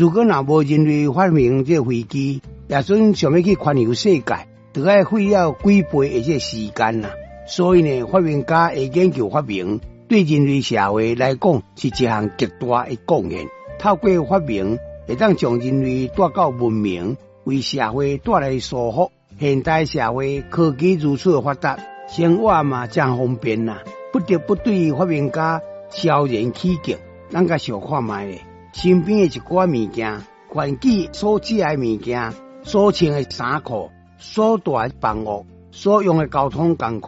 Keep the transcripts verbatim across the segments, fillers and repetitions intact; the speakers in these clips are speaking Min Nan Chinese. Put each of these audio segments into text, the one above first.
如果若無人類發明這個飛機，耶穌想欲去環遊世界，就愛費了幾倍的這個時間啦。所以呢，發明家的研究發明，對人類社會來講是一項極大的貢獻。透過發明，會當將人類帶到文明，為社會帶來舒服。現代社會科技如此的發達，生活嘛誠方便啦，不得不對發明家蕭然起敬。咱共想看覓咧，身邊的一寡物件，環境所食的物件，所穿的衫褲，所住的房屋，所用的交通工具，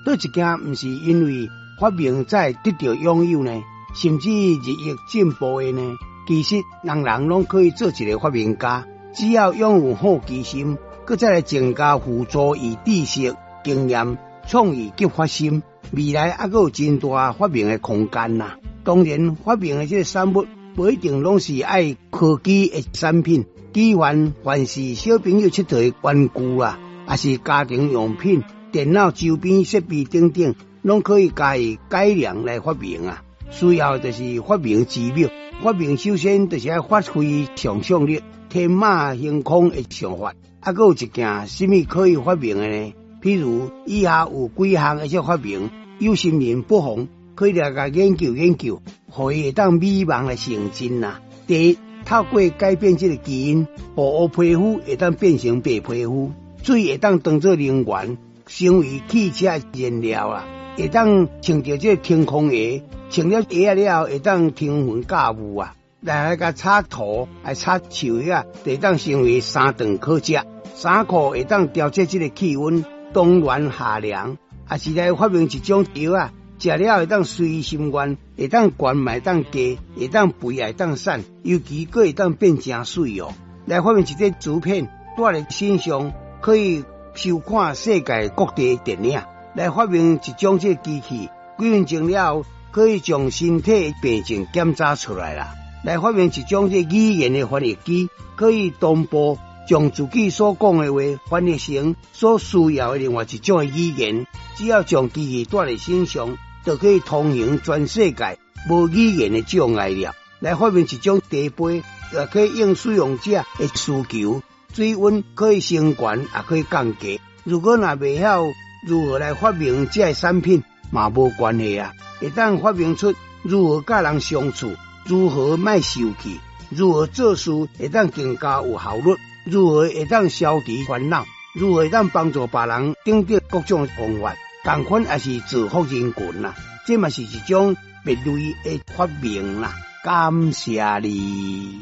佗一件毋是因為發明才會得著擁有呢？甚至日益進步的呢？其實，人人攏可以做一个發明家，只要擁有好奇心，閣再來增加輔助以知識、經驗、創意及發心，未來猶閣有真大發明的空間啦。當然，發明的這个產物無一定攏是愛科技的產品，舉凡凡是小朋友𨑨迌的玩具啊，抑是家庭用品、電腦周邊設備等等，攏可以加以改良來發明啊。需要的就是發明之妙。發明首先就是愛發揮想象力，天馬行空的想法。啊，閣有一件啥物可以發明的呢？譬如以下有幾項的這發明，有心人不妨可以來共研究研究，予伊會當美夢來成真啦。第一，透過改變這个基因，予烏皮膚會當變成白皮膚，水會當當做能源，成為汽車燃料啊，會當穿著這个天空鞋，穿了鞋仔了後會當騰雲駕霧啊，來來共插塗，來插樹葉，會當成為三頓可食，衫褲會當調節這个氣溫，冬暖夏涼，抑是來發明一種藥仔，食了會當隨心願，會當懸嘛會當低，會當肥也會當瘦，尤其閣會當變誠媠哦。來發明一個磁片，帶佇身上可以收看世界各地的電影。來發明一種這个機器，幾分鐘了後可以將身體病症檢查出來啦。來發明一種這語言的翻譯機，可以同步將自己所講的話翻譯成所需要的另外一種的語言。只要將機器帶佇身上，就可以通行全世界，無語言的障礙了。來發明一種茶杯，也可以應使用者的需求，水溫可以升懸，也可以降低。如果若袂曉如何來發明這个產品，嘛無關係啊。會當發明出如何佮人相處，如何莫受氣，如何做事會當更加有效率，如何會當消除煩惱，如何會當幫助別人等等各種方法，仝款也是造福人群啦。這嘛是一種別類的發明啦。感謝你。